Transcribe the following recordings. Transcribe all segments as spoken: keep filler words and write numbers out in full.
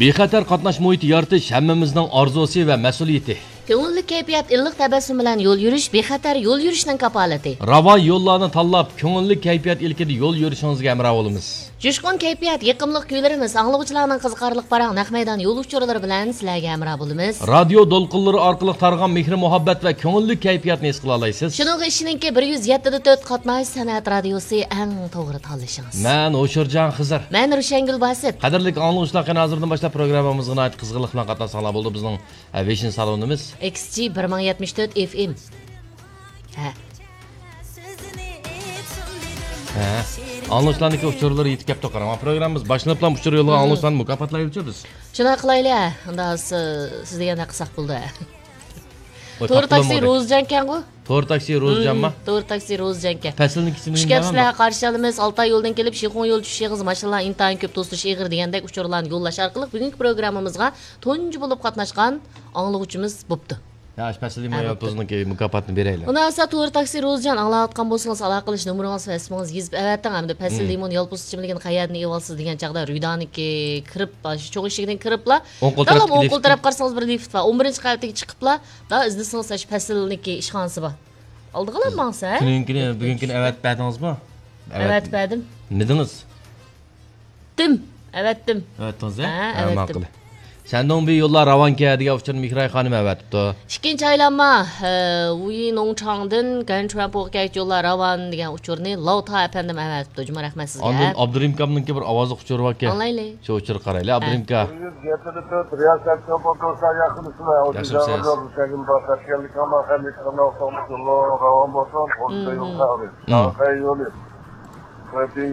بىخەتەر قاتناش مۇھىتى يارىتىش ھەممىمىزنىڭ ئارزۇسى ۋە مەسئۇلىيىتى. كۆڭۈللۈك كەيپىيات، ئىللىق تەبەسسۇم بىلەن يول يۈرۈش بىخەتەر يول يۈرۈشنىڭ كاپالىتى. راۋان يوللارنى تاللاپ، كۆڭۈللۈك كەيپىيات ئىلكىدە يول يۈرۈشىڭىزگە ھەمراھ بولىمىز. جۇشقۇن كەيپىيات، يېقىملىق كۈيلىرىمىز، ئاڭلىغۇچىلارنىڭ قىزىقارلىق پاراڭ، نەق مەيدان يول ئۇچۇرلىرى بىلەن سىلەرگە ھەمراھ بولىمىز. رادىيو دولقۇنلىرى ئارقىلىق تارىغان مېھىر-مۇھەببەت ۋە كۆڭۈللۈك كەيپىياتنى ھېس قىلالايسىز. شۇنىڭغا ئىشىنىڭكى، بىر يۈز يەتتە دە تۆت قاتناش سەنئەت رادىيوسى ئەڭ توغرا تاللىشىڭىز. مەن ھوشۇرجان خىزىر. مەن رۇشەنگۈل باسىت. قەدىرلىك ئاڭلىغۇچىلار، قېنى ھازىردىن باشلاپ پروگراممىمىزغا ناھايىتى قىزغىنلىق بىلەن قاتناشساڭلار بولدى. بىزنىڭ، ئە، ۋېشىن سالونىمىز. ئېكس جى بىر مىڭ يەتمىش تۆت ئېف ئېم. ھە. ھە. ئاڭلىغۇچىلارنىڭكى ئۇچۇرلىرى يېتىپ كەپتۇ، قاراڭ. پروگراممىمىز باشلىنىپلا ئۇچۇر يولىغان ئاڭلىغۇچىلارنى مۇكاپاتلايۋېتىۋاتىمىز. شۇنداق قىلايلى، ھە. ئۇندا سىز، سىز دېگەندەك قىلساق بولدى، ھە. ۋاي، تور تاپتىمۇ تاكسى بىر. روزىجانكەنغۇ؟ تور تاكسى روزىجانما؟ مم، تور تاكسى روزىجانكەن. پەسىلنىڭ كىچىكىنى خۇش كەپسىلەر، قارشى ئالىمىز. ئالتاي يولدىن كېلىپ، شىخۇڭ يول چۈشۈشىڭىز، ماشىنىلار ئىنتايىن كۆپ، توسۇلۇش ئېغىر دېگەندەك ئۇچۇرلارنى يوللاش ئارقىلىق بۈگۈنكى پروگراممىمىزغا تۇنجى بولۇپ قاتناشقان ئاڭلىغۇچىمىز بوپتۇ. يا، ئاشۇ پەسىل ھە، بوپتۇ. يولپۇزنىڭكى مۇكاپاتىنى بېرەيلى. ئۇنداق بولسا، تور تاكسى روزىجان، ئاڭلاۋاتقان بولسىڭىز، ئالاقىلىشىش نومۇرىڭىز ۋە ئىسمىڭىز يېزىپ ئەۋەتىڭ. ھەمدە پەسىل مم. لىمون يالپۇز ئىچىملىكىنى قەيەردىن ئېلىۋالىسىز دېگەن چاغدا، رۈدانىكى كىرىپ، شۇ چوڭ ئىشىكتىن كىرىپلا، ئوڭ قول تارلام تەرەپتىكى ئوڭ قول لىفت. تەرەپ قارىسىڭىز، بىر لىفت بار. ئون بىرىنچى قەۋەتتىكى چىقىپلا، دا ئىزدىسىڭىز، شۇ پەسىلنىڭكى ئىشخانىسى بار. ئالدىغىلا ماڭسا، ھە؟ تۈنۈگۈنكىنى، بۈگۈنكىنى ئەۋەتىپ بەردىڭىزمۇ؟ ئەۋەتىپ بەردىم. مىدىڭىز؟ تىم. ئەۋەتتىم. ئەۋەتتىڭىز، ھە؟ ھە، ھە، ئەۋەتتىم. ماقۇل. شەندۇڭبى يوللار راۋانكەن دېگەن ئۇچۇرنى مېھراي خانىم ئەۋەتىپتۇ. ئىككىنچى ئايلانما، ھە، ۋۇيى نوڭچاڭدىن گەنچۈەنپوغا كەلگۈچى يوللار راۋان دېگەن ئۇچۇرنى لاۋتا ئەپەندىم ئەۋەتىپتۇ. جۇمۇ رەھمەت سىزگە. ئاندىن ئابدۇرېھىم ئاكامنىڭكى بىر ئاۋازلىق ئۇچۇرى باركەن. ئاڭلايلى. شۇ ئۇچۇرغا قارايلى. ھە. ئابدۇرېھىم ئاكا. بىر يۈز يەتتە تۆت رىياسەت چوپان توسا ياخشىمۇسىلەر؟ ياخشىمىز، سەن. ئەمىن. راۋان بولسۇن، مم. يول ساغلىق. مم.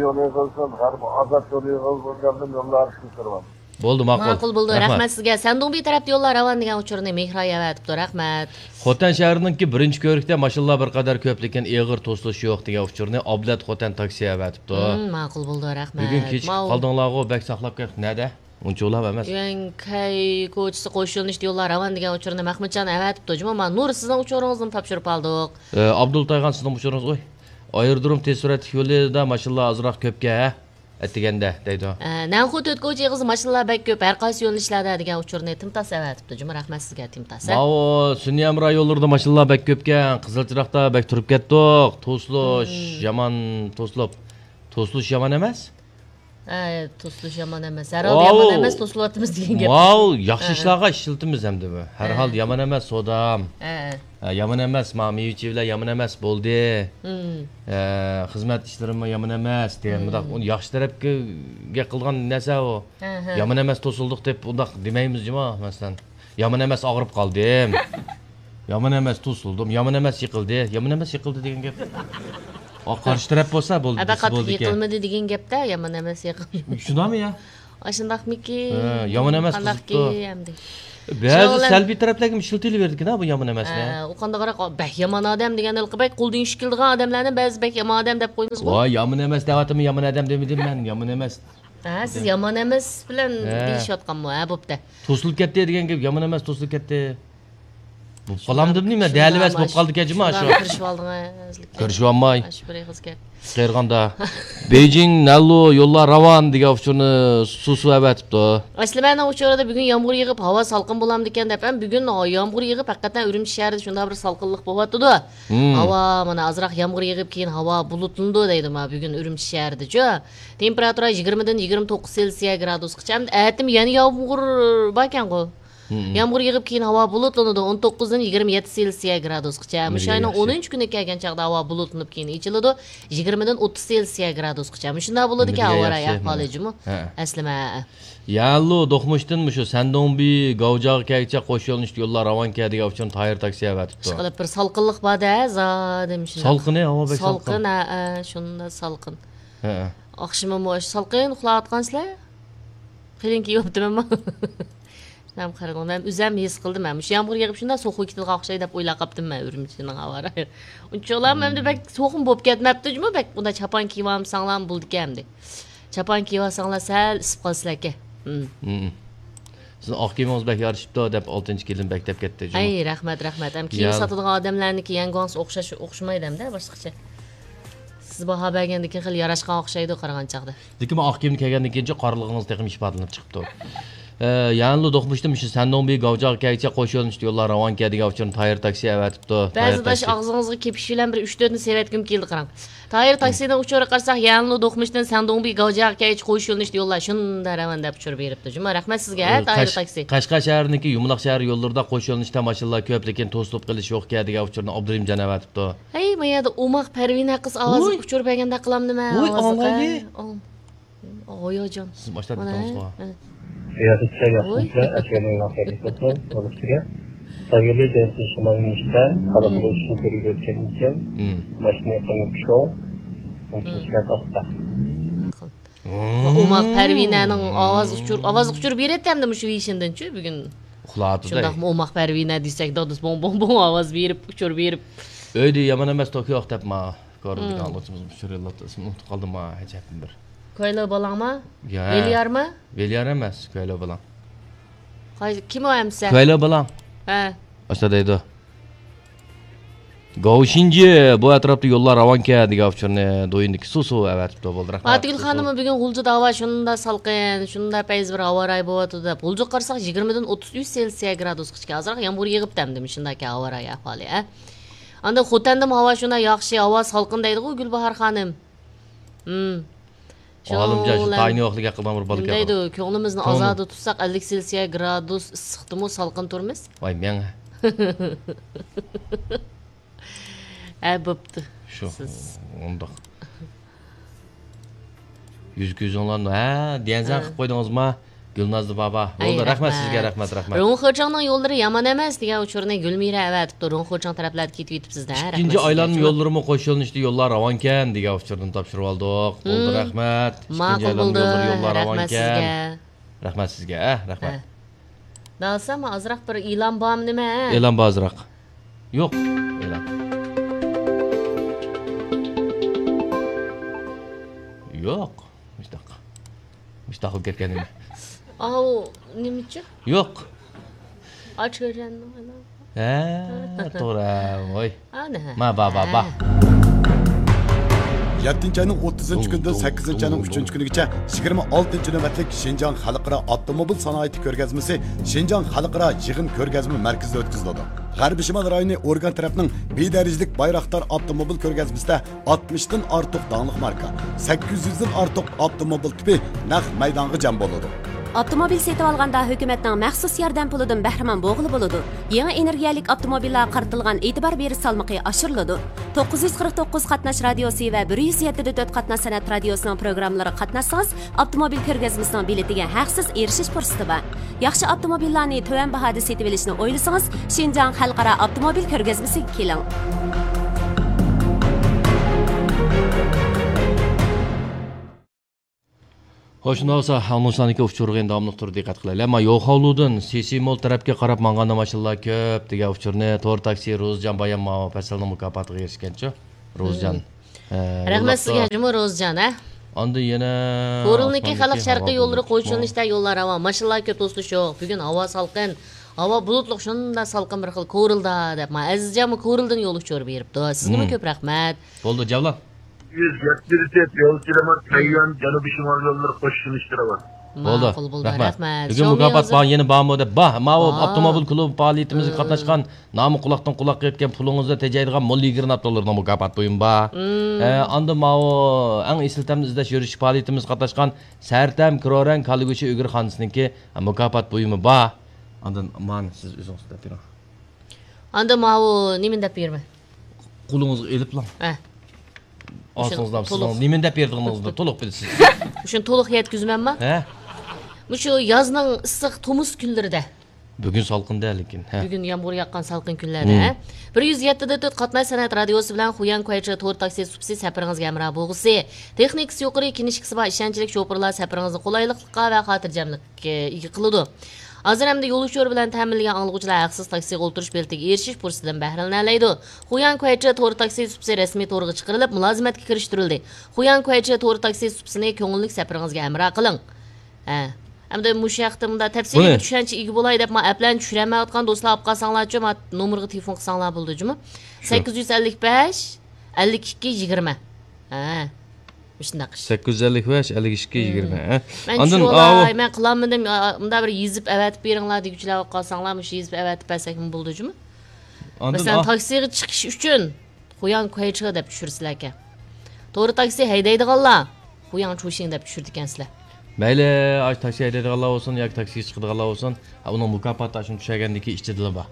يولى قىلسۇن، غەرب ئازاد يولى قىلسۇن، يوللار ئىشلىتىرمەن. بولدى، ماقۇل. ماقۇل بولدى، رەھمەت. رەھمەت سىزگە. سەندۇڭبى تەرەپتە يوللار راۋان دېگەن ئۇچۇرنى مېھراي ئەۋەتىپتۇ، رەھمەت. خوتەن شەھىرىنىڭكى بىرىنچى كۆۋرۈكتە ماشىنىلار بىر قەدەر كۆپ، لېكىن ئېغىر توسۇلۇش يوق دېگەن ئۇچۇرنى ئابلەت خوتەن تاكسى ئەۋەتىپتۇ. مم، ماقۇل بولدى، رەھمەت. بۈگۈن كېچىكىپ قالدىڭلارغۇ، بەك ساقلاپ كەت. نەدە؟ ئۇنچە ئۇلاپ ئەمەس. يۈەنكەي كوچىسى قوش يۆنىلىشتە يوللار راۋان دېگەن ئۇچۇرنى مەخمۇتجان ئەۋەتىپتۇ. جۇمۇ، ما نۇر، سىزنىڭ ئۇچۇرىڭىزنىمۇ تاپشۇرۇپ ئالدۇق. ئە، ئابدۇل تايغان، سىزنىڭ ئۇچۇرىڭىز، ئوي، ئايرودروم تېز سۈرئەتلىك يولىدا ماشىنىلار ئازراق كۆپكەن، ھە؟ ئەتىگەندە دەيدۇ. ئە، نەنخۇ تۆت كوچا ئېغىزى ماشىنىلار بەك كۆپ، ھەر قايسى يۆنىلىشلەردە دېگەن ئۇچۇرنى تىمتاس ئەۋەتىپتۇ. جۇمۇ، رەھمەت سىزگە، تىمتاس. ماۋۇ سۈنئىي ھەمراھ يوللىرىدا ماشىنىلار بەك كۆپكەن، قىزىل چىراغدا بەك تۇرۇپ كەتتۇق. توسۇلۇش، مم. يامان توسۇلۇپ. توسۇلۇش يامان ئەمەس؟ ھە، توسۇلۇش يامان ئەمەس. ھەر ھالدا يامان ئەمەس، توسۇلۇۋاتىمىز دېگەن گەپ. ماۋۇ ياخشى ئىشلارغا ئىشلىتىمىز ئەمدى بۇ. ھەر ھالدا يامان ئەمەس، سودام. ھە، ھە. ھە، يامان ئەمەس، ماۋۇ مېۋە-چېۋىلەر يامان ئەمەس، بولدى. مم. ھە، خىزمەت ئىشلىرىمۇ يامان ئەمەس، دېگەن مم. مۇنداق، ئۇنى ياخشى تەرەپكە گەپ قىلغان نەرسە ئۇ. ھە، ھە. يامان ئەمەس، توسۇلدۇق دەپ ئۇنداق دېمەيمىز جۇمۇ، مەسىلەن. يامان ئەمەس، ئاغرىپ قالدىم. يامان ئەمەس، توسۇلدۇم. يامان ئەمەس، يىقىلدى. يامان ئەمەس، يىقىلدى دېگەن گەپ. ئا، قارشى تەرەپ بولسا، بولدى، ھە، دېسە قاتتىق بولىدىكەن. يىقىلمىدى دېگەن گەپتە، يامان ئەمەس، يىقىلدى. شۇنداقمۇ يا؟ ئاشۇنداقمىكىن؟ ھە، يامان ئەمەس، قانداقكى قىزىقتۇ. ئەمدى؟ بەزى شۇنىڭ بىلەن سەلبىي تەرەپلەرگىمۇ ئىشلىتىلىۋېرىدىكەن ھە، بۇ يامان ئەمەسنى. ھە، ئۇ قانداقراق، بەك يامان ئادەم دېگەن ھېلىقى بەك قولدىن ئىش كېلىدىغان ئادەملەرنى بەزى بەك يامان ئادەم دەپ قويىمىزغۇ. ۋاي، يامان ئەمەس دەۋاتىمەن، يامان ئادەم دېمىدىم مەن، يامان ئەمەس. ھە، سىز يامان ئەمەس بىلەن دېيىشىۋاتقانمۇ؟ ھە، بوپتۇ. توسۇلۇپ كەتتى دېگەن گەپ، يامان ئەمەس، توسۇلۇپ كەتتى. بولۇپ قالامدىمۇ نېمە؟ دەلىۋەس بولۇپ قالدىكەن جۇمۇ شۇ. كىرىشىۋالدىڭىز. كىرىشىۋالماي. ئاشۇ بىر ئېغىز گەپ. قېرىغاندا. بېيجىڭ، نەنلۇ يوللار راۋان دېگەن ئۇچۇرنى سۇسۇ ئەۋەتىپتۇ. ئەسلىمەنىڭ ئۇچۇرىدا بۈگۈن يامغۇر يېغىپ، ھاۋا سالقىن بولامدىكەن دەپ، ھەم بۈگۈن يامغۇر يېغىپ، ھەقىقەتەن ئۈرۈمچى شەھىرىدە شۇنداق بىر سالقىنلىق بولۇۋاتىدۇ. مم. ھاۋا، مانا، ئازراق يامغۇر يېغىپ، كېيىن ھاۋا بۇلۇتلىنىدۇ دەيدۇ، مانا، بۈگۈن ئۈرۈمچى شەھىرىدىچۇ. تېمپېراتۇرا يىگىرمىدىن يىگىرمە توققۇز سېلسىيە گرادۇسقىچە. ئەتىمۇ يەنە يامغۇر باركەنغۇ. مم. يامغۇر يېغىپ، كېيىن ھاۋا بۇلۇتلىنىدۇ، ئون توققۇزدىن يىگىرمە يەتتە سېلسىيە گرادۇسقىچە. مۇشۇ ئاينىڭ ئونىنچى كۈنى كەلگەن چاغدا ھاۋا بۇلۇتلىنىپ، كېيىن ئېچىلىدۇ، يىگىرمىدىن ئوتتۇز سېلسىيە گرادۇسقىچە. مۇشۇنداق بولىدىكەن ھاۋا رايى ئەھۋالى جۇمۇ. ھە. ئەسلىمە. يەنلۇ دوقمۇشتىن مۇشۇ سەندۇڭبى گاۋجاغا كەلگۈچە قوش يۆنىلىشتە يوللار راۋانكەن دېگەن ئۇچۇرنى تاھىر تاكسى ئەۋەتىپتۇ. ئىشقىلىپ بىر سالقىنلىق بار-دە، زادى مۇشۇنداق. سالقىنى، ھاۋا بەك سالقىن. سالقىن، ھە، ھە، شۇنداق سالقىن. ھە. ئاخشىمىمۇ ئاشۇ سالقىن ئۇخلاۋاتقانسىلەر؟ قېلىن كىيىۋاپتىمەنمۇ؟ مەن قارىدىم، مەن ئۆزۈم ھېس قىلدىم، مەن مۇشۇ يامغۇر يېغىپ شۇنداق سوغۇق كېتىدىغان ئوخشايدۇ دەپ ئويلاپ قاپتىم مەن ئۈرۈمچىنىڭ ھاۋا رايى. ئۇنچىۋالا ئەمدى بەك سوغۇقمۇ بولۇپ كەتمەپتۇ جۇمۇ، بەك ئۇنداق چاپان كىيىۋالمىساڭلارمۇ بولىدىكەن ئەمدى. چاپان كىيىۋالساڭلار سەل ئىسسىپ قالىسىلەركەن. ھىم. ھىم. سىزنىڭ ئاق كىيىمىڭىز بەك يارىشىپتۇ دەپ ئالتىنچى كېلىن بەك دەپ كەتتى جۇمۇ. ئەي، رەھمەت، رەھمەت. ھەم كىيىم ساتىدىغان ئادەملەرنىڭكى يەڭگۇاڭسى ئوخشاش، ئوخشىمايدۇ ئەمدى باشقىچە. سىز باھا بەرگەندىن كېيىن خېلى ياراشقان ئوخشايدۇ قارىغان چاغدا. لېكىن مەن ئاق كىيىمنى كىيگەندىن كېيىنچە قارىلىقىڭىز تېخىمۇ ئىپادىلىنىپ چىقىپتۇ. ئە، يەنىلا دوقمۇشتىن مۇشۇ سەندۇڭبى گاۋجاغا كەلگۈچە قوش يۆنىلىشتە يوللار راۋان كەن دېگەن ئۇچۇرنى تايىر تاكسى ئەۋەتىپتۇ. بەزى تايىر داش تاكسى. ئاغزىڭىزغا كېپىش بىلەن بىر ئۈچ تۆتنى سېۋەتكۈم كېلىدۇ، قاراڭ. تايىر تاكسىنىڭ ئۇچۇرىغا قارىساق، يەنىلا دوقمۇشتىن سەندۇڭبى گاۋجاغا كەلگۈچە قوش يۆنىلىشتە يوللار شۇنداق راۋان دەپ ئۇچۇر بېرىپتۇ جۇمۇ. رەھمەت سىزگە، ھە، ئە، تايىر قەش-، تاكسى. قەشقەر شەھىرىنىڭكى يۇمىلاق شەھەر يوللىرىدا قوش يۆنىلىشتە ماشىنىلار كۆپ، لېكىن توسۇلۇپ قېلىش يوقكەن دېگەن ئۇچۇرنى ئابدۇرېھىمجان ئەۋەتىپتۇ. ھەي، ما يەردە ئوماق پەرۋىنە قىز ئاۋازلىق ۋوي. ئۇچۇر بەرگەندەك قىلامدىمەن ۋوي، ئاۋازلىق، ئاڭلايلى. ھە؟ ئاڭ-، ھاياجان. سىز باشلاپ مانا، كېتىڭىزغۇ. ھە. ياخشى چىراي ياخشى ۋوي. ئەسكەرنىڭ لاقايلىق بولسۇن، بولۇشىچە. سايلى جەنسىز شىمالىي مۇشتا، قاراقلۇق شۇ كۆرۈپ ئۆتكەن ئىكەن. مم. ماشىنا يېقىنغا چۈشۈڭ. مم. ئوماق پەرۋىنەنىڭ ئاۋاز ئۇچۇر، ئاۋاز ئۇچۇر بېرەتتى ئەمدى مۇشۇ ۋېيشىندىنچۇ بۈگۈن. ئۇخلاۋاتىدۇ. شۇنداقمۇ ئوماق پەرۋىنە دېسەك، دادىسى بوڭ بوڭ بوڭ ئاۋاز بېرىپ، ئۇچۇر بېرىپ. ئۆيدە يامان ئەمەس، توكيو ئوق دەپ ما. كورلىدىكى مم. ئاڭلىغۇچىمىز ئۇچۇر يوللاپتۇ، ئىسمىنى ئۇنتۇپ قالدىم ما، ئەجەبمۇ بىر. كويلو بالاڭما؟ يا. ۋېليارما؟ ۋېليار ئەمەس، كويلو بالاڭ. قاي-، كىم ئۇ ئەمسە؟ كويلو بالاڭ. ھە. ئاشۇنداق دەيدۇ. گاۋشىنجى، بۇ ئەتراپتا يوللار راۋانكەن دېگەن ئۇچۇرنى دويىندىكى سۇسۇ ئەۋەتىپتۇ. بولدى، رەھمەت. ئاتىگۈل خانىممۇ بۈگۈن غۇلجىدا ھاۋا شۇنداق سالقىن، شۇنداق پەيزى بىر ھاۋا رايى بولۇۋاتىدۇ دەپ. غۇلجىغا قارىساق، يىگىرمىدىن ئوتتۇز ئۈچ سېلسىيە گرادۇسقىچە. ئازراق يامغۇر يېغىپتۇ ئەمدى، مۇشۇنداكى ھاۋا رايى ئەھۋالى، ھە؟ ئاندىن خوتەندىمۇ ھاۋا شۇنداق ياخشى، ھاۋا سالقىن دەيدىغۇ گۈلباھار خانىم. ھىم. ئالىمجان، شۇ تايىنى يوقلۇق ھەققىدە بىر بالا نېمە دەيدۇ، كۆڭلىمىزنى ئازادە تۇتساق، ئەللىك سېلسىيە گرادۇس ئىسسىقتىمۇ سالقىن تۇرىمىز. ۋاي مەڭ. ھە، بوپتۇ. شۇ، سىز ئۇنداق. يۈز كۆزۈڭلارنى، ھە، ديەنزەن قىلىپ قويدىڭىزما؟ گۈلنازلى بابا. بولدى، رەھمەت سىزگە، رەھمەت، رەھمەت. رۇڭخېچىڭنىڭ يوللىرى يامان ئەمەس دېگەن ئۇچۇرنى گۈلمىرە ئەۋەتىپتۇ. رۇڭخېچىڭ تەرەپلەردە كېتىۋېتىپسىز-دە. ئىككىنچى ئايلانما يوللىرىمۇ قوش يۆنىلىشتە يوللار راۋانكەن دېگەن ئۇچۇرنى تاپشۇرۇۋالدۇق. بولدى، رەھمەت. ماقۇل بولدى، رەھمەت سىزگە. رەھمەت سىزگە، ھە، رەھمەت. داسا، ما ئازراق بىر ئېلان بارمۇ نېمە؟ ئېلان بار ئازراق. يوق. ئېلان. يوق. مۇشتاق. مۇشتاق قىلىپ كەتكەن نېمە؟ ئاۋۇ نېمىچۇ؟ يوق. ئاچ كۆرگەننىڭ ئانا. ھە، توغرا. ۋاي. ئانا. ما، با، با، با. يەتتىنچى ئاينىڭ ئوتتۇزىنچى كۈنىدىن سەككىزىنچى ئاينىڭ ئۈچىنچى كۈنىگىچە يىگىرمە ئالتىنچى نۆۋەتلىك شىنجاڭ خەلقئارا ئاپتوموبىل سانائىتى كۆرگەزمىسى شىنجاڭ خەلقئارا يىغىن كۆرگەزمە مەركىزىدە ئۆتكۈزۈلىدۇ. غەربىي شىمال رايونى ئورگان تەرەپنىڭ بىدەرىجىلىك بايراقدار ئاپتوموبىل كۆرگەزمىسىدە ئاتمىشتىن ئارتۇق داڭلىق ماركا، سەككىز يۈزدىن ئارتۇق ئاپتوموبىل تىپى نەق مەيدانغا جەم بولىدۇ. ئاپتوموبىل سېتىۋالغاندا ھۆكۈمەتنىڭ مەخسۇس ياردەم پۇلىدىن بەھرىمەن بولغىلى بولىدۇ. يېڭى ئېنېرگىيەلىك ئاپتوموبىللارغا قارىتىلغان ئېتىبار بېرىش سالمىقى ئاشۇرۇلىدۇ. توققۇز يۈز قىرىق توققۇز قاتناش رادىيوسى ۋە بىر يۈز يەتتە دە تۆت قاتناش سەنئەت رادىيوسىنىڭ پروگراممىلىرىغا قاتناشسىڭىز، ئاپتوموبىل كۆرگەزمىسىنىڭ بېلىتىگە ھەقسىز ئېرىشىش پۇرسىتى بار. ياخشى ئاپتوموبىللارنى تۆۋەن باھادا سېتىۋېلىشنى ئويلىسىڭىز، شىنجاڭ خەلقئارا ئاپتوموبىل كۆرگەزمىسىگە كېلىڭ. خوش، شۇنداق بولسا، ئاڭلىغۇچىلارنىڭكى ئۇچۇرىغا داۋاملىق تۇرۇپ دىققەت قىلايلى. ئەمما يوخاۋلۇدىن سېسىمول تەرەپكە قاراپ ماڭغاندا ماشىنىلار كۆپ دېگەن ئۇچۇرنى تور تاكسى روزىجان بايام ماۋۇ پەسىلنىڭ مۇكاپاتىغا ئېرىشكەنچۇ، روزىجان. ھە، رەھمەت سىزگە جۇمۇ روزىجان، ھە؟ ئاندىن يەنە كورلىنىڭكى خەلق شەرقىي يوللىرى قوشۇلۇشتا يوللار راۋان، ماشىنىلار كۆپ، توسۇلۇش يوق. بۈگۈن ھاۋا سالقىن، ھاۋا بۇلۇتلۇق، شۇنداق سالقىن بىر خىل كورلىدا دەپ، ما ئەزىزجانمۇ كورلىدىن يول ئۇچۇرى بېرىپتۇ. سىزگىمۇ كۆپ رەھمەت. بولدى، جاۋلان. يۈز يەتتە دەرىجە يول كىلومېتىر تەييارلىق جەنۇبىي شىمال يوللىرى قوشۇلۇشتۇرى بار. بولدى، ماقۇل بولدى، رەھمەت. رەھمەت. بۈگۈن مۇكاپات بار، يەنە بارمۇ دەپ، بار، ماۋۇ ئاپتوموبىل كۇلۇبى پائالىيىتىمىزگە قاتناشقان، نامى قۇلاقتىن قۇلاققا يەتكەن پۇلىڭىزنى تېجەيدىغان مول يىگىرمە نات دوللىرىنىڭ مۇكاپات بۇيۇمى بار. ئە، ئاندىن ماۋۇ ئەڭ ئېسىل تەمنى ئىزدەش يۈرۈش پائالىيىتىمىزگە قاتناشقان سەرتەم كرورەڭ كاللىگۈشى ئۈگرە خانىسىنىڭكى مۇكاپات بۇيۇمى بار. ئاندىن مانا سىز ئۆزىڭىز دەپ بېرىڭ. ئاندىن ماۋۇ نېمىنى دەپ بېرىمەن؟ قولىڭىزغا ئېلىپلا. ھە. ئاستىڭىزدا سىزنىڭ نېمىنى دەپ بېرىدىغىنىڭىزنى تولۇق بىلىسىز. شۇنى تولۇق يەتكۈزىمەنما؟ ھە؟ مۇشۇ يازنىڭ ئىسسىق تومۇز كۈنلىرىدە. بۈگۈن سالقىندا لېكىن، ھە. بۈگۈن يامغۇر ياغقان سالقىن كۈنلەردە، ھە. بىر يۈز يەتتە دە تۆت قاتناش سەنئەت رادىيوسى بىلەن خۇيەن كۇەيچې تور تاكسى سۇپىسى سەپىرىڭىزگە ھەمراھ بولغۇسى. تېخنىكىسى يۇقىرى، كىنىشكىسى بار، ئىشەنچلىك شوپۇرلار سەپىرىڭىزنى قولايلىقلىققا ۋە خاتىرجەملىككە ئىگە قىلىدۇ. ھازىر ئەمدى يول ئۇچۇرى بىلەن تەمىنلىگەن ئاڭلىغۇچىلار ھەقسىز تاكسىغا ئولتۇرۇش بېلىتىگە ئېرىشىش پۇرسىتىدىن بەھرىلىنەلەيدۇ. خۇيەن كۇەيچې تور تاكسى سۇپىسى رەسمىي تورغا چىقىرىلىپ، مۇلازىمەتكە كىرىشتۈرۈلدى. خۇيەن كۇەيچې تور تاكسى سۇپىسىنى كۆڭۈللۈك سەپىرىڭىزگە ھەمراھ قىلىڭ. ھە. ئەمدى مۇشۇ ھەقتە مۇنداق تەپسىلىي بىر چۈشەنچە ئىگە بولاي دەپ، مانا ئەپلەرنى چۈشۈرەلمەيۋاتقان دوستلار ئاپ قالساڭلارچۇ، مانا نومۇرغا تېلېفون قىلساڭلار بولىدۇ جۇمۇ. شۇ. سەككىز يۈز ئەللىك بەش، ئەللىك ئىككى، يىگىرمە. ھە. مۇشۇنداق ئىش. سەككىز يۈز ئەللىك بەش، ئەللىك ئىككى، يىگىرمە، ھە؟ مەن ئاندىن چۈشىنىۋالاي، مەن قىلالمىدىم، ئا، مۇنداق بىر يېزىپ ئەۋەتىپ بېرىڭلار دېگۈچىلەر بولۇپ قالساڭلار، مۇشۇ يېزىپ ئەۋەتىپ بەرسەكمۇ بولىدۇ جۇمۇ. ئاندىن مەسىلەن، تاكسىغا چىقىش ئۈچۈن خۇياڭ كۇەيچې دەپ چۈشۈرىسىلەركەن. تورا تاكسى ھەيدەيدىغانلار خۇياڭ چۇشىڭ دەپ چۈشۈرىدىكەنسىلەر. مەيلى، ئاشۇ تاكسى ھەيدەيدىغانلار بولسۇن ياكى تاكسىغا چىقىدىغانلار بولسۇن، ھە، ئۇنىڭ مۇكاپاتى ئاشۇنى چۈشەرگەندىن كېيىن ئىچىدىلا بار.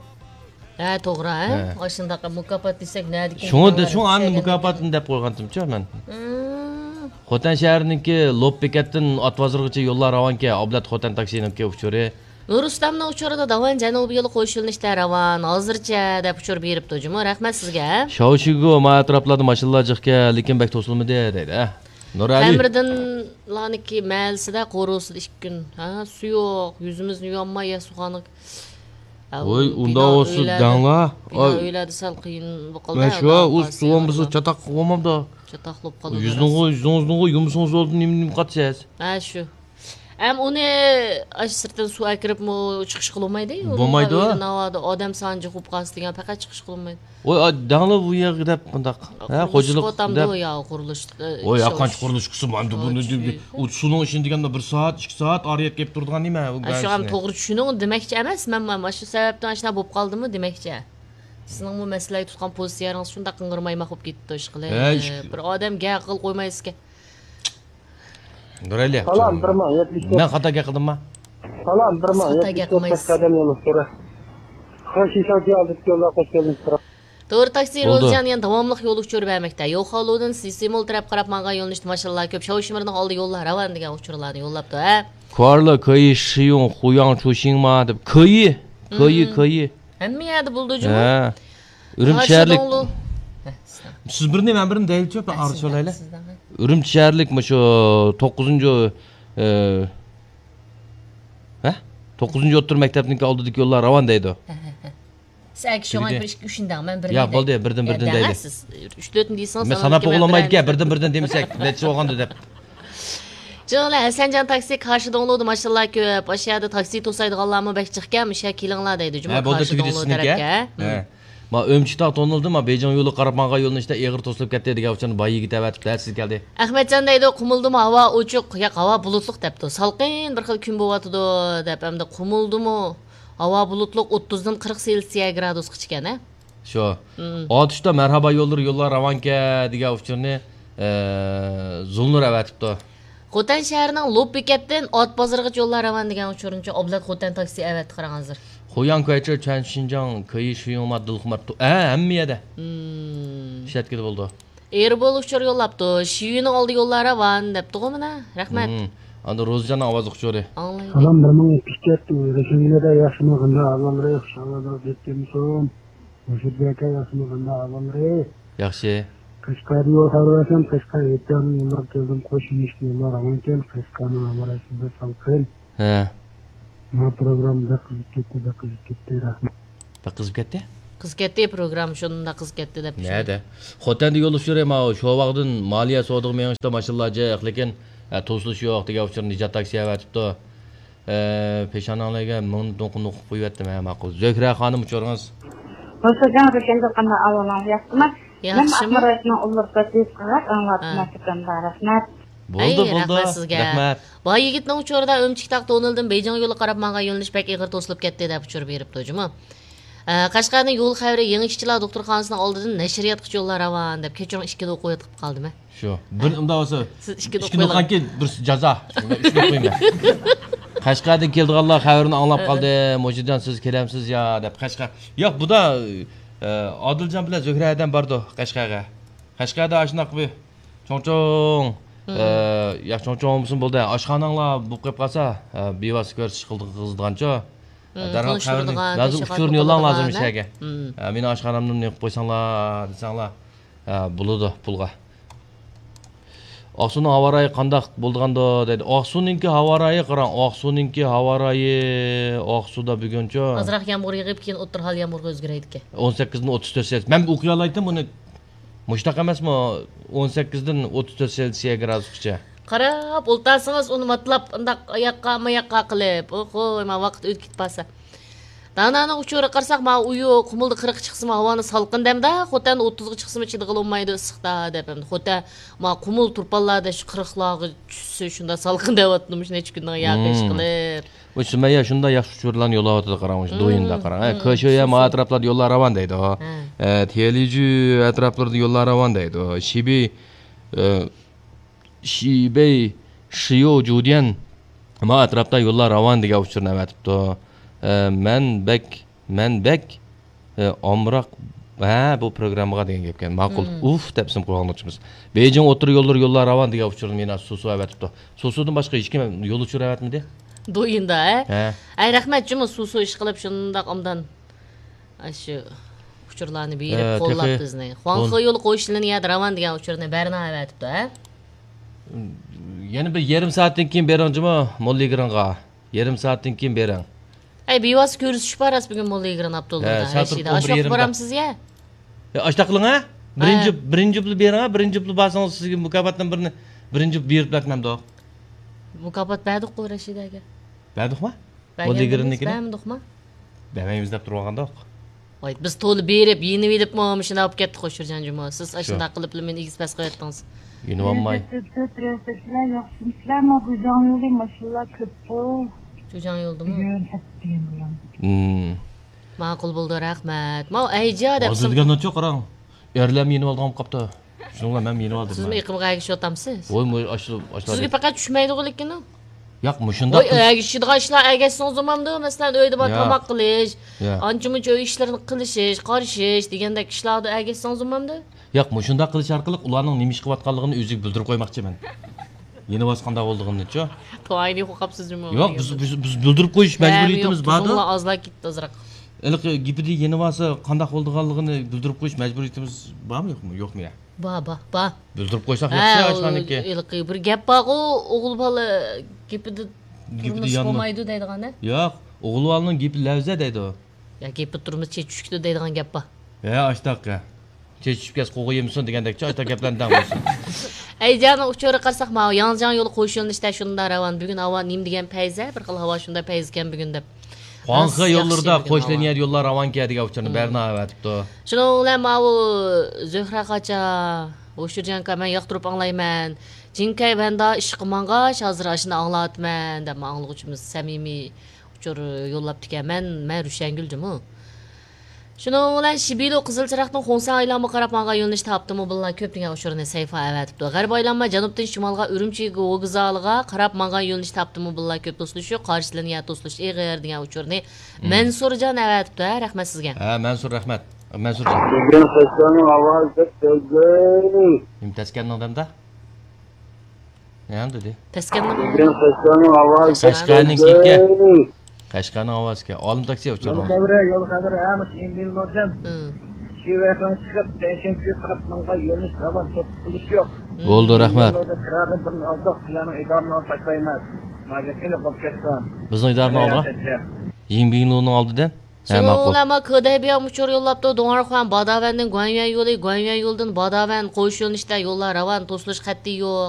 ھە، توغرا، ھە؟ ھە. ئاشۇنداق مۇكاپات دېسەك، نەدىكىن شۇڭا، شۇڭا ئانىڭ مۇكاپاتىنى دەپ قويغانتىمچۇ مەن. مم. خوتەن شەھىرىنىڭكى لوپ بېكەتتىن ئات بازىرىغىچە يوللار راۋانكەن، ئابلەت خوتەن تاكسىنىڭكى ئۇچۇرى. نۇرۇسلامنىڭ ئۇچۇرىدا داۋان جەنۇبىي يولى قوشۇلۇنۇشتا راۋان، ھازىرچە دەپ ئۇچۇر بېرىپتۇ جۇمۇ، رەھمەت سىزگە. شاۋشىگۇ، ما ئەتراپلاردا ماشىنىلار جىقكەن، لېكىن بەك توسۇلمىدى دەيدۇ، ھە. نۇرئەلى. قەمەردىنلارنىڭكى مەھەللىسىدە قورۇسىدا ئىككى كۈن، ھە، سۇ يوق، يۈزىمىزنى يۇيالماي ياسۇخانىغا. ۋوي، ئۇنداق بولسا دەڭلا. بىنا ئۆيلەردە سەل قىيىن بولۇپ قالدى. مەن شۇ، ئۇ سۇ بولمىسا چاتاق بولمامدا. چاتاق بولۇپ قالىدۇ. يۈزىڭىزنىڭغۇ، يۈزىڭىزنىڭغۇ يۇمىسىڭىز بولدى، نېمە، نېمە قاتىسىز؟ ھە، شۇ. ھەم ئۇنى ئاشۇ سىرتتىن سۇ ئەكىرىپمۇ چىقىشقا بولمايدۇ. بولمايدۇ. ئۇنىڭغا ئۆيدە ناۋادا ئادەم سانى جىق بولۇپ قالسا دېگەن، پەقەت چىقىشقا بولمايدۇ. ۋوي، دەڭلا بۇ يەرگە دەپ مۇنداق. ھە، قۇرۇلۇش خوجىلىق قوتامدۇ دەپ. يا، قۇرۇلۇش، ئە، ۋوي، ئىش ياقانچە قۇرۇلۇش قىلسا، ماندۇ بۇنى دېدى. ئۇ سۇنىڭ ئىچىنى دېگەندە بىر سائەت، ئىككى سائەت ئارىيەت كېلىپ تۇرىدىغان نېمە، ئۇ ئە، شۇ، ئەم، توغرا چۈشىنىڭ دېمەكچى ئەمەس، مەن، مەن ماشۇ سەۋەبتىن ئاشۇنداق بولۇپ قالدىمۇ دېمەكچى. سىزنىڭمۇ مەسىلىگە تۇتقان پوزىتسىيەڭىز شۇنداق قىڭغىرمايماق بولۇپ كېتىپتۇ، ئىشقىلىپ. ھە، ئىش- بىر ئادەم گەپ قىلىپ قويمايسىزكەن. نۇرئەلى. سالام، بىر مىڭ يەتمىش تۆت. مەن خاتا گەپ قىلدىمما؟ سالام، بىر مىڭ يەتمىش تۆت. خاتا گەپ قىلمايسىز. قەشقەردىن يوللۇق سورا. خۇشىشاكى ئالدىدىكى يوللار قوش كەلدىڭىز. توغرا، تاكسى بولدى. روزىيان يەنە داۋاملىق يول ئۇچۇرى بەرمەكتە. يوخالۇدىن سىسىمول تەرەپ قاراپ ماڭغان يۆنىلىشتە ماشىنىلار كۆپ. شاۋشىمىرنىڭ ئالدى يوللار راۋان دېگەن ئۇچۇرلارنى يوللاپتۇ، ھە؟ كۇارلا، كېيى، شىيۇڭ، خۇياڭ، چۇشىڭما دەپ. كېيى، كېيى، مم. كېيى. ھەممە يەردە بولىدۇ جۇمۇ. ھە. ئۈرۈمچى شەھەرلىك. ھە، سىز دەڭ. سىز بىرنى، مەن بىرنى دەيلىچۇ، بىر ئارىلىشىۋالايلى. سىز دەڭ. ئۈرۈمچى شەھەرلىك مۇشۇ توققۇزىنچى، ئە، ھە؟ توققۇزىنچى ئوتتۇرا مەكتەپنىڭكى ئالدىدىكى يوللار راۋان دەيدۇ. ھە، ھە، ھە. سىز ئەگىشىڭ بىر ئىككى، ئۈچىنى دەڭ، مەن بىرنى دەي. ياق، بولدى، بىردىن، بىردىن دەيلى. سىز ئۈچ، تۆتنى دېسىڭىز، مەن ساناپ بولالمايدىكەن، بىردىن، بىردىن دېمىسەك، نەچچە بولغاندۇ دەپ. جۇڭلە ھەسەنجان تاكسى، كاشىدوڭلۇدا ماشىنىلار كۆپ. ئاشۇ يەردە تاكسى توسايدىغانلارمۇ بەك جىقكەن، مۇشۇ يەرگە كېلىڭلار دەيدۇ جۇمۇ، ھە، بولدى، كاشىدوڭلۇ تەرەپكە. ھە. ما ئۆمچىتاغ تونۇلدى، ما بېيجىڭ يولىغا قاراپ ماڭغان يۆنىلىشتە ئېغىر توسۇلۇپ كەتتى دېگەن ئۇچۇرنى باي يىگىت ئەۋەتىپتۇ، سىز كەلدى. ئەخمەتجان دەيدۇ، قۇمۇلدىمۇ ھاۋا ئوچۇق، ياق، ھاۋا بۇلۇتلۇق دەپتۇ. سالقىن بىر خىل كۈن بولۇۋاتىدۇ دەپ، ئەمدى قۇمۇلدىمۇ ھاۋا بۇلۇتلۇق، ئوتتۇزدىن قىرىق سېلسىيە گرادۇسقىچە ئىكەن، ھە؟ شۇ. مم. ئاتۇشتا مەرھابا يوللىرى، يوللار راۋانكەن دېگەن ئۇچۇرنى، ئە، زۇلنۇر ئەۋەتىپتۇ. خوتەن شەھىرىنىڭ لوپ بېكەتتىن ئات بازىرىغىچە يوللار راۋان دېگەن ئۇچۇرنىچۇ ئابلەت خوتەن تاكسى ئەۋەتتى، قاراڭلار. خۇياڭ كۇەيچې، چۈەن شىنجاڭ، كېيى شىيۇڭما، دىلخۇمار، ھە، ھەممە يەردە. مم. ئىشلەتكىلى بولىدۇ. ئېربول ئۇچۇر يوللاپتۇ. شىيۈنىڭ ئالدى يوللار راۋان دەپتىغۇ مانا. رەھمەت. مم. ئاندىن روزىجاننىڭ ئاۋازلىق ئۇچۇرى. ئاڭلايلى. سالام، بىر مىڭ يەتمىش تۆت، رەشىدىنگە ياخشىمۇ، قانداق ئەھۋاللىرى؟ خۇش ئەھۋاللار، بەك يېمىسۇن. مۇشۇدەك ياخشىمۇ، قانداق ئەھۋاللىرى؟ ياخشى. قەشقەردىن يول خەۋىرى بەرسەم، قەشقەر ھېيتگاھىنىڭ يوللىرىغا كەلدىم، قوش يېنىكلىك يوللار راۋانكەن، قەشقەرنىڭ ھاۋا رايى شۇنداق سالقىن. ھە. ما پروگرامما بەك قىزىپ كەتتى، بەك قىزىپ كەتتى، رەھمەت. بەك قىزىپ كەتتى؟ قىزىپ كەتتى، پروگرامما شۇنداق قىزىپ كەتتى دەپ چۈشەندىم. نەدە؟ خوتەندە يول ئۇچۇرى، ماۋۇ شوۋاغدىن مالىيە سودىغا مېڭىشتا ماشىنىلار جىق، لېكىن، ھە، توسۇلۇش يوق دېگەن ئۇچۇرنى نىجات تاكسى ئەۋەتىپتۇ. ئە، پېشانەڭلارگە مىڭ نوقۇپ قويۇۋەتتىم، ھە، ماقۇل. زۆھرە خانىم، ئۇچۇرىڭىز. ھوسۇجان، روشەندە قانداق ئەھۋالىڭىز، ياخشىمۇ؟ ياخشىمۇ؟ مەن ئاقمۇ رايونىنىڭ ئۇللۇرقى تېز قىلغاق ئاڭلاۋاتىمەن، ھە. سىزدىن بار رەھمەت. بولدى، ئەي، بولدى. رەھمەت سىزگە. رەھمەت. باي يىگىتنىڭ ئۇچۇرىدا ئۆمچىكتاغ تونېلىدىن بېيجىڭ يولى قاراپ ماڭغان يۆنىلىش بەك ئېغىر توسۇلۇپ كەتتى دەپ ئۇچۇر بېرىپتۇ جۇمۇ. ئە، قەشقەرنىڭ يول خەۋىرى، يېڭى ئىشچىلار دوختۇرخانىسىنىڭ ئالدىدىن نەشرىياتقىچە يوللار راۋان دەپ، كەچۈرۈڭ، ئىككىدە ئوقۇۋېتىپ قالدىم، ھە. شۇ. بىر، ھە. ئۇنداق بولسا، سىز ئىككىنى ئىككىنى ئوقۇيلا. ئوقۇغانكىن بىر جازا. ئۈچنى ئوقۇيمەن. قەشقەردىن كېلىدىغانلار خەۋىرىنى ئاڭلاپ ھە. قالدى. مۇجىدان، سىز كېلەمسىز يا دەپ قەشقەر. ياق، بۇ دا، ئە، ئادىلجان بىلەن زۆھرە ھەدەم باردۇ قەشقەرگە. قەشقەردە ئاشۇنداق بىر چوڭ-چوڭ، مم. ئە، ياق، چوڭ-چوڭ بولمىسىمۇ بولدى. ئاشخاناڭلار بولۇپ قېلىپ قالسا، ئە، بىۋاسىتە كۆرسىتىش قىلدى-، قىزىدىغانچۇ. مم، دەرھال خەۋەرنى، تونۇشتۇرىدىغان، لازىم ئۇچۇرنى يوللاڭلار، لازىم ئىچەرگە. مم. ئە، مېنىڭ ئاشخانامدىن نېقىپ قويساڭلار دېسەڭلار. ھە، بولىدۇ، پۇلغا. ئاقسۇنىڭ ھاۋا رايى قانداق بولىدىغاندۇ دەيدۇ. ئاقسۇنىڭكى ھاۋا رايى قاراڭ، ئاقسۇنىڭكى ھاۋا رايى، ئاقسۇدا بۈگۈنچۇ؟ ئازراق يامغۇر يېغىپ، كېيىن ئوتتۇرا ھال يامغۇرغا ئۆزگىرەيدىكەن. ئون سەككىزدىن ئوتتۇز تۆت سېلسىيەس. مەن ئوقۇيالايتتىم بۇنى. مۇشۇنداق ئەمەسمۇ؟ ئون سەككىزدىن ئوتتۇز تۆت سېلسىيە گرادۇسقىچە. قاراپ ئولتۇرسىڭىز ئۇنى ماتىلاپ، ئۇنداق ئاياققا، ماياققا قىلىپ. ئوخۇي، ما ۋاقىت ئۆتۈپ كېتىپ قالسا. دانانىڭ ئۇچۇرىغا قارىساق، ماۋۇ ئۇيۇ قۇمۇلدا قىرىققا چىقسىمۇ ھاۋانى سالقىن دەمدە، خوتەن ئوتتۇزغا چىقسىمۇ چىدىغىلى بولمايدۇ ئىسسىقتا، دەپ ئەمدى. خوتەن، ماۋۇ قۇمۇل تۇرپانلاردا شۇ قىرىقلارغا چۈشسە، شۇنداق سالقىن دەۋاتىدۇ، مۇشۇ نەچچە كۈندىن ياقى ئىش قىلىپ. مۇشۇ سۈمەييە شۇنداق ياخشى ئۇچۇرلارنى يوللاۋاتىدۇ، قاراڭ، مۇشۇ دويىندا قاراڭ. ھە، كېشيۈ يەنمۇ ئەتراپلاردا يوللار راۋان دەيدۇ. ھە. ئە، تيەنلىجۈ ئەتراپلىرىدا يوللار راۋان دەيدۇ. شىبى، ئە، شىبەي، شىيو، جۇديەن، ما ئەتراپتا يوللار راۋان دېگەن ئۇچۇرنى ئەۋەتىپتۇ. ئە، مەن بەك، مەن بەك، ئە، ئامراق، ھە، بۇ پروگراممىغا دېگەن گەپكەن. ماقۇل. ئۇف دەپ ئىسىم قويغانلىقچىمىز. بېيجىڭ ئوتتۇرا يوللىرى يوللار راۋان دېگەن ئۇچۇرنى مېنى سۇسۇ ئەۋەتىپتۇ. سۇسۇدىن باشقا ھېچكىم يول ئۇچۇرى ئەۋەتمىدى. دويىندا، ھە؟ ھە. ئەي، رەھمەت جۇمۇ سۇسۇ ئىشقىلىپ شۇنداق ئوبدان ئاشۇ ئۇچۇرلارنى بېرىپ، ھە، قوللاپ تېخى بىزنى. خۇاڭخې يولى قويۇش لىنىيەدە راۋان دېگەن ئۇچۇرنى بەرنا ئەۋەتىپتۇ، ھە؟ يەنە بىر يېرىم سائەتتىن كېيىن بېرىڭ جۇمۇ، موللىگىرىڭغا. يېرىم سائەتتىن كېيىن بېرىڭ. ئەي، بىۋاسىتە كۆرۈشۈش بار ئەس بۈگۈن موللىگىرىن ئابدۇللا بىلەن رەشىدە. ئاشۇ ۋاقىت بارامسىز يا؟ ئاشۇنداق قىلىڭ ھە. بىرىنچى، بىرىنچى يۇپنى بېرىڭ ھە. بىرىنچى يۇپنى بەرسىڭىز سىزگە مۇكاپاتتىن بىرنى، بىرىنچى يۇپ بېرىپ بەرمەمدۇق. مۇكاپات بەردۇققۇ رەشىدەگە. بەردۇقما؟ بەرگەن ئەمەس، بەرمىدۇقما؟ بەرمەيمىز دەپ تۇرۇۋالغاندۇق. ۋاي، بىز تولا بېرىپ، يېنىۋېلىپمۇ مۇشۇنداق بولۇپ كەتتۇق، شۇرجان جۇمۇ. سىز ئاشۇنداق قىلىپلا مېنى ئېگىز پەس قىلىۋەتتىڭىز. يېنىۋالماي. سىلەر ياخشىمۇسىلەرمۇ؟ گۇجاڭ يولى ماشىنىلار كۆپتۇ. گۇجاڭ يولدىمۇ؟ بۈگۈن ھەپتە دېگەن بىلەن. ماقۇل بولدى، رەھمەت. ماۋۇ ئەيجا دەپ ھازىر دېگەن ناچو قاراڭ. ئەرلەرمۇ يېنىۋالىدىغان بولۇپ قاپتۇ. شۇنىڭ بىلەن مەنمۇ يېنىۋالدىم. سىزمۇ ئېقىمغا ئەگىشىۋاتامسىز؟ ۋوي، مۇ-، ئاشۇ، ئاشۇ. سىزگە پەقەت چۈشمەيدىغۇ لېكىن ئۇ. ياق، مۇشۇنداق ۋوي، قىل- ئەگىشىدىغان ئىشلار ئەگەشسىڭىز بولمامدۇ؟ مەسىلەن، ئۆيدە بار ياق. تاماق قىلىش، ياق. ئانچە-مۇنچە ئۆي ئىشلىرىنى قىلىشىش، قارىشىش دېگەندەك ئىشلاردا ئەگەشسىڭىز بولمامدۇ؟ ياق، مۇشۇنداق قىلىش ئارقىلىق ئۇلارنىڭ نېمە ئىش قىلىۋاتقانلىقىنى ئۆزىگە بىلدۈرۈپ قويماقچىمەن. يېنىۋالسا قانداق بولىدىغىنىنىچۇ؟ توينى قوقاپسىزمۇ؟ ياق، بىز، بىز، بىز بىلدۈرۈپ قويۇش مەجبۇرىيىتىمىز باردۇ. ھە، ياق، تۇزۇڭلار ئازلا كېتىپتۇ ئازراق. ھېلىقى گېپىدە يېنىۋالسا قانداق بولىدىغانلىقىنى بىلدۈرۈپ قويۇش مەجبۇرىيىتىمىز بارمۇ يوقمۇ؟ يوقمۇ يا؟ بار، بار، بار. بىلدۈرۈپ قويساق ياخشى، ھە، ئاشۇلارنىڭكى. ھېلىقى بىر گەپ بارغۇ، ئوغۇل بالا گېپىدە تۇرمۇس بولمايدۇ دەيدىغان، ھە؟ ياق، ئوغۇل بالىنىڭ گېپى لەۋزە دەيدۇ. يا گېپىدە تۇرمۇس چېچى چۈشتى دەيدىغان گەپ بار. ھە، ئاشتاق. چېچى چۈشۈپ كەتسە قوغا يېمىسۇن دېگەندەكچۇ، ئاشتاق گەپلەرنى دەڭ بولسۇن. ئەيجاننىڭ ئۇچۇرىغا قارىساق، ماۋۇ ياڭجياڭ يولى قويۇش يۆنىلىشىدە شۇنداق راۋان. بۈگۈن ھاۋا نېمە دېگەن پەيزە، بىر خىل ھاۋا شۇنداق پەيزىكەن بۈگۈن دەپ. خۇاڭخې يوللىرىدا قوش لىنىيە يوللار راۋانكەن دېگەن ئۇچۇرنى بەرنا ئەۋەتىپتۇ. شۇنىڭ بىلەن ماۋۇ زۆھرە قاچا، ھوشۇرجان ئاكا، مەن ياقتۇرۇپ ئاڭلايمەن. جىنكەي ۋەندا ئىشقا ماڭغاچ، ھازىر ئاشۇنى ئاڭلاۋاتىمەن دەپ، ما ئاڭلىغۇچىمىز سەمىمىي ئۇچۇر يوللاپتىكەن. مەن، مەن رۇشەنگۈلجىمۇ. شۇنىڭ بىلەن شىبىلو قىزىل چىراغنىڭ خۇڭسەن ئايلانما قاراپ ماڭغان يۆنىلىشتە ئاپتوموبىللار كۆپ دېگەن ئۇچۇرنى سەيفا ئەۋەتىپتۇ. غەرب ئايلانما جەنۇبتىن شىمالغا ئۈرۈمچى ۋوگزالىغا قاراپ ماڭغان يۆنىلىشتە ئاپتوموبىللار كۆپ، توسۇلۇشى يوق، قارشى لىنىيە توسۇلۇش ئېغىر دېگەن ئۇچۇرنى مەنسۇرجان ئەۋەتىپتۇ. ھە، رەھمەت سىزگە. ھە، مەنسۇر، رەھمەت. مەنسۇرجان. بۈگۈن قەشقەرنىڭ ھاۋاسى بەك تەزگەي. نېمە تەسكەننىڭ دەمدە؟ نېمە دېدى؟ تەسكەننىڭ بۈگۈن قەشقەرنىڭ ھاۋاسى قەشقەرنىڭ بەك تەزگەي. قەشقەرنىڭ ھاۋاسى ئىكەن. ئالىم تاكسى ئۇچۇرنىڭ. يول خەۋىرى، يول خەۋىرى، ھە، مۇشۇ ئىمبىل نوردىن. شىۋەخەن چىقىپ، تەيشەنگۈ قاراپ ماڭغان يۆنىلىش راۋان، توسۇلۇش يوق. بولدى، رەھمەت. يول نوردىن كىرادىن بىرنى ئالدۇق، سىلەرنىڭ ئىدارىنى ئالساق دەيمىز. ماگىسىنى قوپ كەتسۇن. بىزنىڭ ئىدارىنى ئالدىغا؟ يىڭبىڭلۇنىڭ ئالدىدىن. ھە، ماقۇل. شۇنىڭ بىلەن ما كېدەيبىيام ئۇچۇر يوللاپتۇ. دۇڭئەرخۇەن باداۋەندىن گۇەنيۈەن يولى، گۇەنيۈەن يولىدىن باداۋەن قويۇش يۆنىلىشىدە يوللار راۋان، توسۇلۇش قەتئىي يوق.